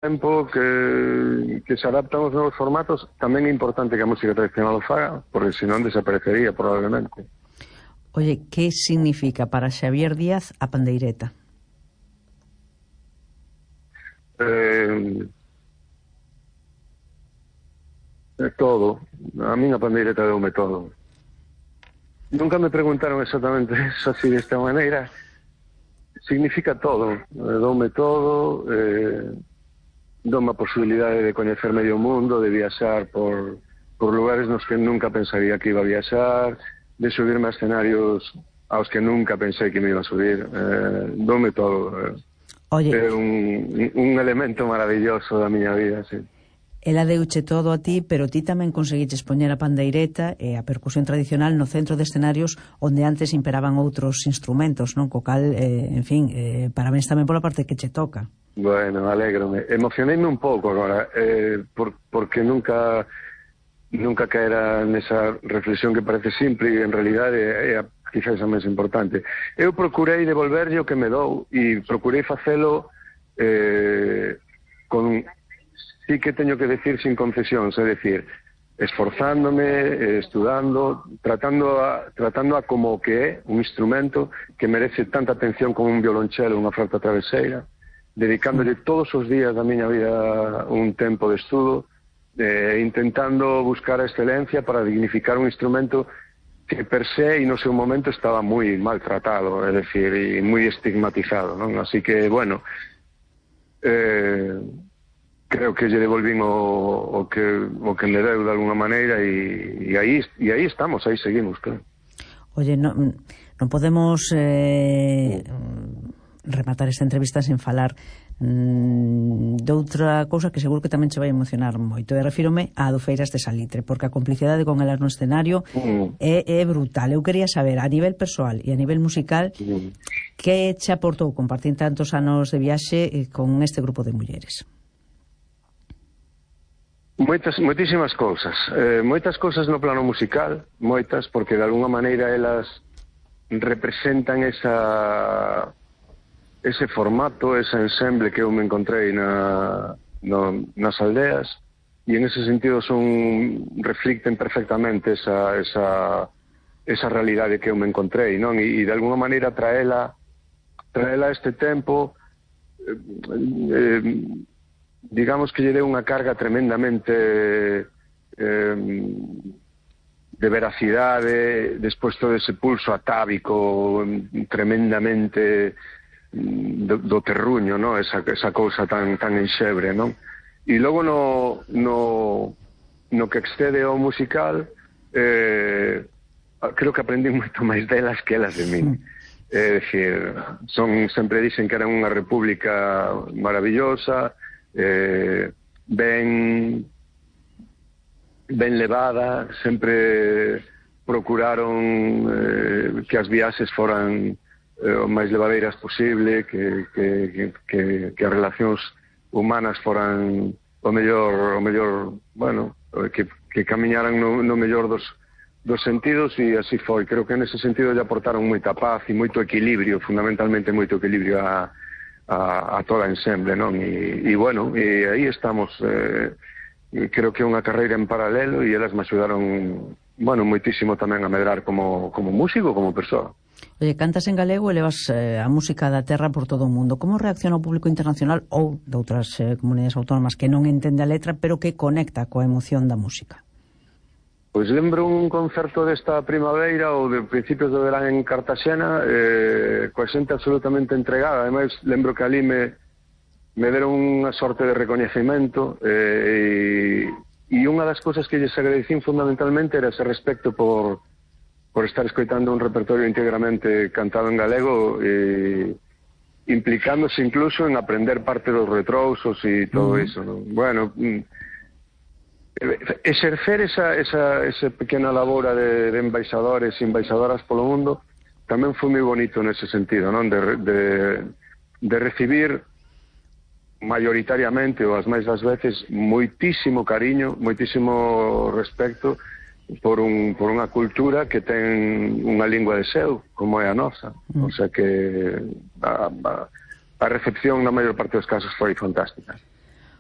tempo que se adaptan aos novos formatos, tamén é importante que a música tradicional o faga, porque senón desaparecería probablemente. Oye, que significa para Xavier Díaz a pandeireta? Todo. A min a pandeireta deume todo. Nunca me preguntaron exactamente eso así de esta maneira. Significa todo. Doume todo, doume a posibilidade de coñecer medio mundo, de viaxar por lugares nos que nunca pensaría que iba a viaxar, de subirme a escenarios aos que nunca pensei que me iba a subir. Doume todo. Oye, é un elemento maravilloso da miña vida, sí. Ela deuche todo a ti, pero ti tamén conseguiches poñer a pandeireta e a percusión tradicional no centro de escenarios onde antes imperaban outros instrumentos, non? Co cal, en fin, parabéns tamén pola parte que che toca. Bueno, alégrome. Emocioneime un pouco agora, porque nunca caera nesa reflexión que parece simple e en realidade é quizás a máis importante. Eu procurei devolverlle o que me dou e procurei facelo con... Sí que teño que decir sin concesións, é decir, esforzándome, estudando, tratando a como que é un instrumento que merece tanta atención como un violonchelo ou unha flauta traveseira, dedicándolle todos os días da miña vida un tempo de estudo, intentando buscar a excelencia para dignificar un instrumento que per se e no seu momento estaba moi maltratado, é dicir, e moi estigmatizado, non? Así que, bueno, creo que lle devolvín o que me deu de alguna maneira e aí estamos, aí seguimos, claro. Oye, non podemos rematar esta entrevista sen falar doutra cousa que seguro que tamén che vai emocionar moito, e refírome a Adufeiras de Salitre, porque a complicidade con elas no escenario é brutal. Eu quería saber, a nivel persoal e a nivel musical, que che aportou compartir tantos anos de viaxe con este grupo de mulleres? Moitísimas cousas. Moitas cousas no plano musical, moitas, porque de alguna maneira elas representan ese formato, ese ensemble que eu me encontrei nas aldeas, e en ese sentido reflicten perfectamente esa realidade que eu me encontrei, non? E de alguna maneira traela a este tempo, digamos que lle deu unha carga tremendamente de veracidade, despois todo ese pulso atávico tremendamente do terruño, ¿no? Esa cousa tan enxebre, non? E logo no que excede ao musical, creo que aprendí moito máis delas que elas de min. É dicir, sempre dicen que eran unha república maravillosa, ben levada, sempre procuraron que as viaxes foran o máis levadeiras posible, que as relacións humanas foran o mellor, bueno, que camiñaran no mellor dos sentidos, e así foi. Creo que nese sentido lle aportaron moita paz e moito equilibrio, fundamentalmente moito equilibrio a toda a ensemble, non? E bueno, e aí estamos. Creo que é unha carreira en paralelo e elas me axudaron, bueno, moitísimo tamén a medrar como músico, como persoa. Oye, cantas en galego e levas a música da terra por todo o mundo. Como reacciona o público internacional ou de outras comunidades autónomas que non entende a letra, pero que conecta coa emoción da música? Pois lembro un concerto desta primavera ou de principios do verán en Cartaxena, coa xente absolutamente entregada. Ademais, lembro que ali me deron unha sorte de recoñecemento, e unha das cousas que lles agradecín fundamentalmente era ese respecto por estar escoitando un repertorio íntegramente cantado en galego, implicándose incluso en aprender parte dos retrousos e todo iso, ¿no? Bueno, exercer esa pequena labora de embaixadores e embaixadoras polo mundo tamén foi moi bonito nese sentido, non? De recibir maioritariamente, ou as máis das veces, moitísimo cariño, moitísimo respecto por unha cultura que ten unha lingua de seu, como é a nosa. O sea que a recepción na maior parte dos casos foi fantástica.